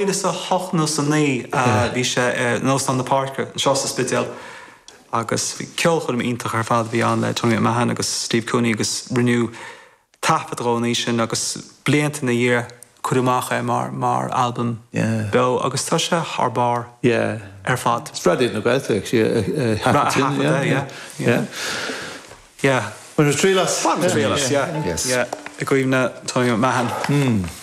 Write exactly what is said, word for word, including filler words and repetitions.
mhíle is a hocht nó a naoi bhí sé in Óstán na Páirce anseo sa Spidéal agus bhí ceolchoirm iontach ar fad bhí ann le Tony McMahon agus Steve Cooney agus rinneadh taifead de an oíche sin agus blianta ina dhiaidh cuireadh amach é mar mar albam beo agus tá sé thar barr ar fad. Raidió na Gaeltachta Yeah. Yeah. Bhain triail as? Bhain triail as, yeah. Yes. Yeah. I gcuimhne Tony McMahon.